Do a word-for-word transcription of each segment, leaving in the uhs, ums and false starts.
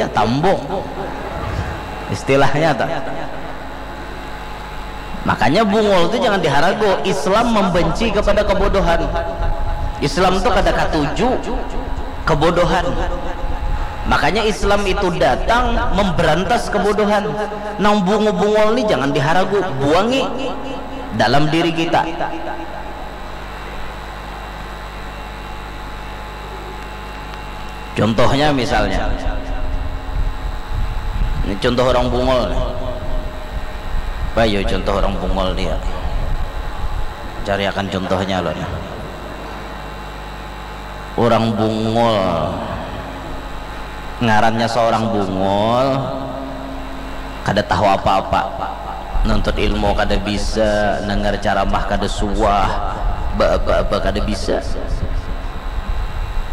ya tambung. Istilahnya tuh. Makanya bungul itu jangan diharagu. Islam membenci kepada kebodohan. Islam tuh kada katuju kebodohan. Makanya Islam itu datang memberantas kebodohan. Nang bungu bungul ni jangan diharagu, buangi dalam diri kita. Contohnya misalnya, ini contoh orang bungul nih. Bayu contoh orang bungul dia. Cari akan contohnya loh nih. Orang bungul, ngarannya seorang bungul, kada tahu apa-apa, nuntut ilmu kada bisa, dengar ceramah kada suah, ba-, ba-, ba-, kada bisa.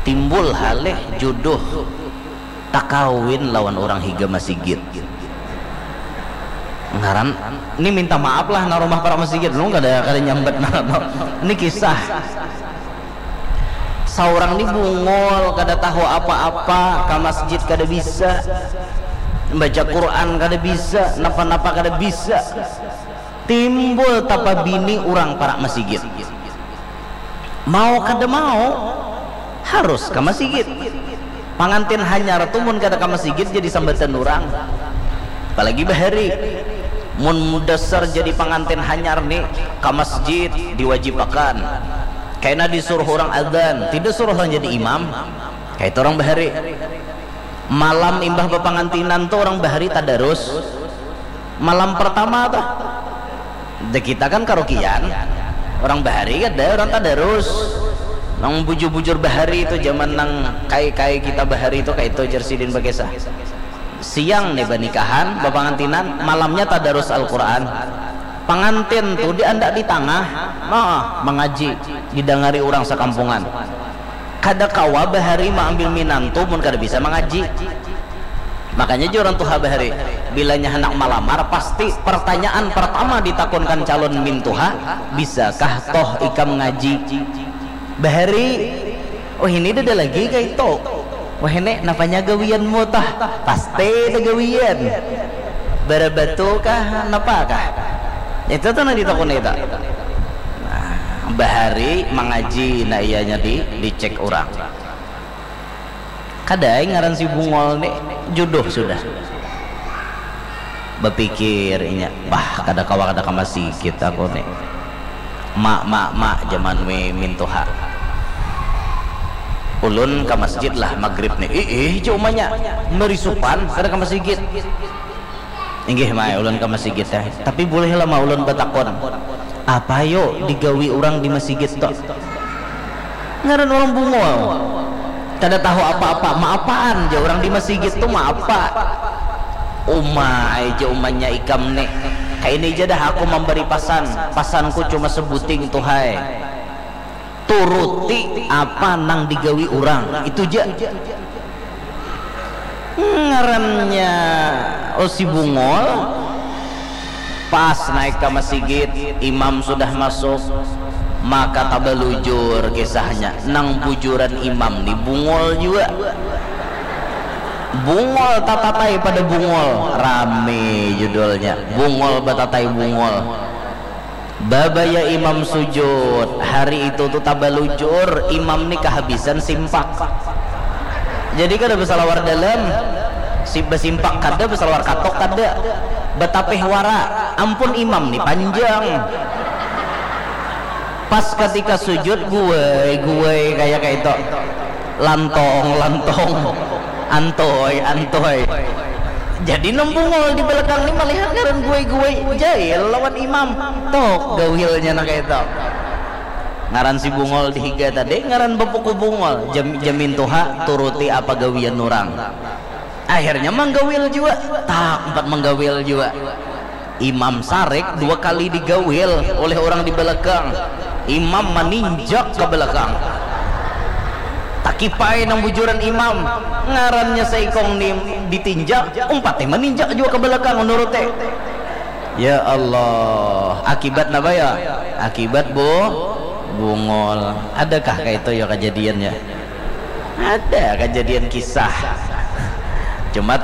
Timbul halih jodoh takawin lawan orang higa masigit. Ngaran, ini minta maaf lah, nah, rumah para masigit, lu kada, kada nyambat, nah, no. Ini kisah. Saurang ni bungul, kada tahu apa-apa, ka masjid kada bisa, baca Quran kada bisa, napa-napa kada bisa. Timbul tapa bini urang parak masigit. Mau kada mau, harus ka masigit. Pangantin hanyar tu mun kada ka masigit jadi sambatan urang. Apalagi bahari. Mun dasar jadi pangantin hanyar ni, ka masjid diwajibakan. Kaina disuruh urang adzan, tidak suruh urang jadi imam. Kaitu urang bahari. Malam imbah bapangantinan tu urang bahari tadarus. Malam pertama tuh, da kita kan karukian, orang bahari kada, orang tadarus. Nang bujur-bujur bahari itu zaman nang kai-kai kita bahari itu kaitu jar sidin bakisah. Siang nih banikahan, bapangantinan, malamnya tadarus Al-Quran. Pangantin tuh diandak di tangah, nah, mangaji, didangari orang sakampungan. Kada kawa bahari maambil minantu mun kada bisa mangaji. Makanya jua urang tuha bahari, bilanya handak malamar, pasti pertanyaan pertama ditakunkan calon mintuha, bisakah toh ikam ngaji? Bahari, oh ini dada lagi kaitu. Wah ini, napanya gawianmu toh? Pasti ada gawian. Barabatu kah, napa kah? Itu tuh nang ditakuni itu. Nah, bahari mangaji, nah iyanya di, dicek urang. Kada ai ngaran si bungol ni, jodoh sudah. Bapikir inya, bah kada kawa kada ka masigit aku ni. Ma, ma, ma, jaman mi mintuha. Ulun ka masjid lah magrib ni. Iih, ja umanya, marisupan kada ka masigit. Inggih ma ai ulun ka masigit ai. Tapi bulih lah ma ulun batakun, apa yo digawi urang di masigit tu? Ngaran urang bungul. Kada tahu apa-apa, maapaan ja urang di masigit tu maapa. Uma ai ja umanya ikam ni. Kaini ja dah aku mambari pasan. Pasanku cuma sebuting tuh ai. Turuti apa nang digawi urang, itu ja. Ngarannya, oh, si bungul. Pas naik ka masigit, imam sudah masuk, maka tabalujur kisahnya. Nang bujuran imam ni bungul jua. Bungul tatatai pada bungul, rame judulnya. Bungul batatai bungul. Babaya imam sujud, hari itu tu tabalujur, imam ni kahabisan simpak. Jadi kada basalawar dalam, si, basimpak kada, basalawar katok kada, batapih wara, ampun imam ni panjang. Pas katika sujud, guai, guai, kaya kaitu. Lantong, lantong. Antoi, antoi. Jadi nang bungul di balakang ni malihat ngaran guai-guai, jail lawan imam. Tok gawilnya nang kaitu. Ngaran si bungul di higa tadi ngaran bapuku bungul. Jam, jamin tuha turuti apa gawian urang. Akhirnya manggawil jua. Tak, umpat manggawil jua. Imam sarik dua kali digawil oleh orang di balakang. Imam maninjak ka balakang. Takipai nang bujuran imam, ngarannya saikung ni ditinjak, umpati maninjak jua ka balakang, nuruti. Ya Allah, akibat napa ya? Akibat bu, bungul. Adakah kaitu ya kajadiannya? Ada kajadian kisah. Cuma